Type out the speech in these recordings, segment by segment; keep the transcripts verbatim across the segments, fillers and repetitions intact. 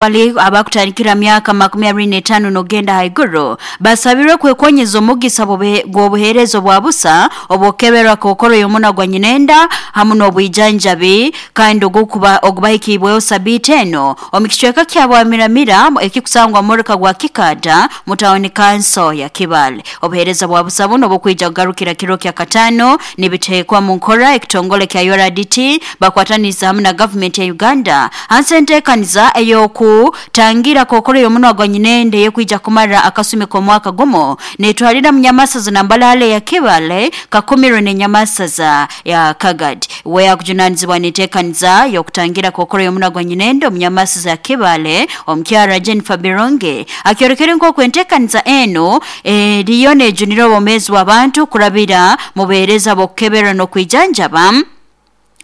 Bali abakutandikira myaka makumi abiri n'etaano n'ogenda haiguru basabirwe kwekonyeza omugisa gw'obuheereza obwa busa obwokukeberwa kookoro y'omunwa gwa nyinenda hamu n'obwijanjabi kandi ogukuba ogubahikiibweho sabiiti eno omu kicweka kya Bwamiramira ekikusangwa mu gwa Kikaada mu tawuni kanso ya Kibaale. Obuheereza bwa busa buno bukwija kugarukira kiro kya kataano nibiteekwa mu nkora ekitongole kya U R D T bakwataniriza hamu na gavumenti ya Uganda hansi enteekaniza ey'oku tangira kookoro y'omunwa gwa nyinende yekwija kumara akasumi k'omwaka gumu netwalira munyamasaza na Mbalale ya Kibaale Kakumiro n'enyamasaza ya Kagadi. We akujunanizibwa n'enteekaniza y'okutangira kookoro y'omunwa gwa nyinende omunyamasaza ya Kibaale omukyara Jennifer Bironge akyorekere nk'oku enteekaniza eno eriyo nejunira obwomeezi bw'abantu kurabira mu buheereza bw'okukebera n'okwijanjaba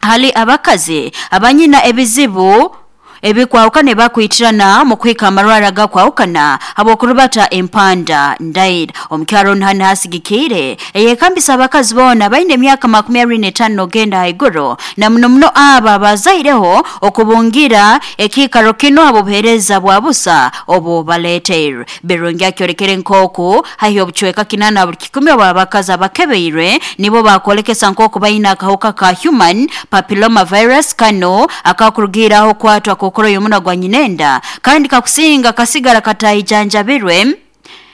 hali abakazi abanyina ebizibu ebikwahukana bakwitirana mu kuhika amarwara gakwahukana habwokurubata empanda ndaira. Omukyaro ono hasigikire eyekambisa abakazi boona baine emyaka makumi abiri n'etaano n'ogenda haiguru na muno muno abo abazaireho okubungira ekiikaro kino habw'obuheereza bwa busa obu baleeteirwe. Birungi akyorekere nk'oku haihi obucweka kinaana buli kikumi obw'abakazi abakebeirwe nibo bakwolekesa nk'oku baine akahuka ka human papilloma virus kano akakurugiraho kwatwa kookoro y'omunwa gwa nyinenda kandi kakusinga kasigara katayijanjabirwe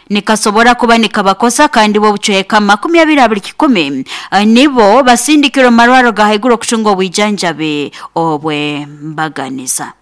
nikasobora kuba nikabakosa kandi bo bucweka makumi abiri abiri kikumi nibo basindikirwe mu marwaro ga haiguru okutunga obwijanjabi obwembaganiza.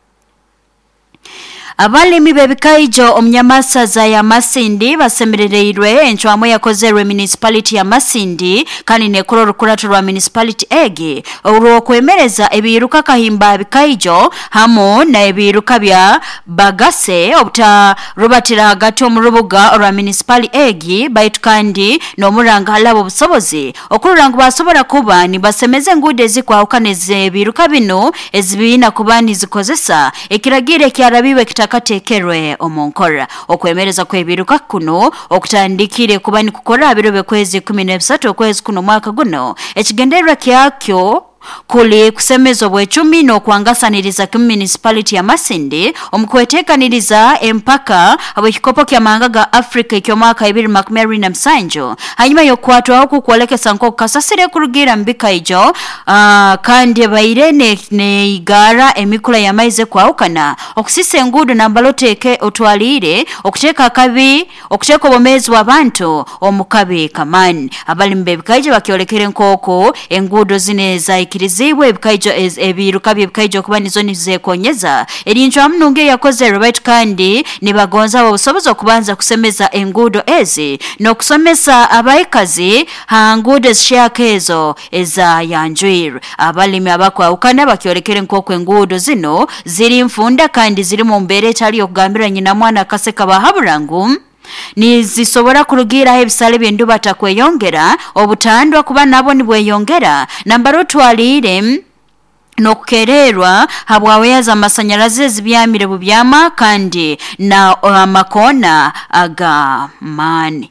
Abalimi b'ebikaijo omunyamasaza ya Masindi basemerereirwe encwamu yakozerwe municipality ya Masindi kandi nekora orukurato rwa municipality egi orw'okwemereza ebiruka kahimba bikaijo hamu na ebiruka bya bagase obutarubatira hagati omu rubuga orwa municipality egi baitu kandi n'omuranga halabo obusobozi okurora ngu basobora kuba nibasemeza enguudo ezikwahukana ez'ebiruka bino ezibiina kuba nizikozesa ekiragiro ekyarabiwe kitakatekerwe omu nkora. Okwemereza kw'ebiruka kuno okutandikire kuba nikukora biro by'okwezi kumi n'ebisatu okwezi kuno mwaka guno ekigendererwa kyakyo kuli kusemeza obwecumi n'okwangasaniriza kimu municipality ya Masindi omukweteekaniriza empaka habw'ekikopo ky'amahanga ga Africa eky'omwaka ibiri makumi abiri na musanju hanyuma y'okukwatwaho kukwolekesa nk'oku kasasire kurugira mu bikaijo uh, kandi ebaire neigara emikura y'amaizi ekwahukana okusisa enguudo nambala oteeke otwaliire okuteeka akabi okuteeka obwomeezi bw'abantu omu kabi kamaani. Abalimi b'ebikaijo bakyolekere nk'oku enguudo zino ezaikirizibwe ebikaijo ebiruka by'ebikaijo kuba nizo nizekonyeza eri ncwamu nungi eyakozerwe baitu kandi nibagonza obusobozi okubanza kusemeza enguudo ezi n'okusomesa abaikazi ha nguudo ezishyaka ezo ezayanjwirwe. Abalimi abakwahukana bakyolekere nk'oku enguudo zino ziri nfunda kandi ziri mu mbeera etali y'okugambira nyina mwana akaseka bahabura ngu nizisobora kurugiraho ebisale by'enduba takweyongera obutandwa kuba nabo nibweyongera nambara otwaliire n'okukererwa habwaweya z'amasanyarazi ezibyamire bubyama kandi na amakona ag'amaani.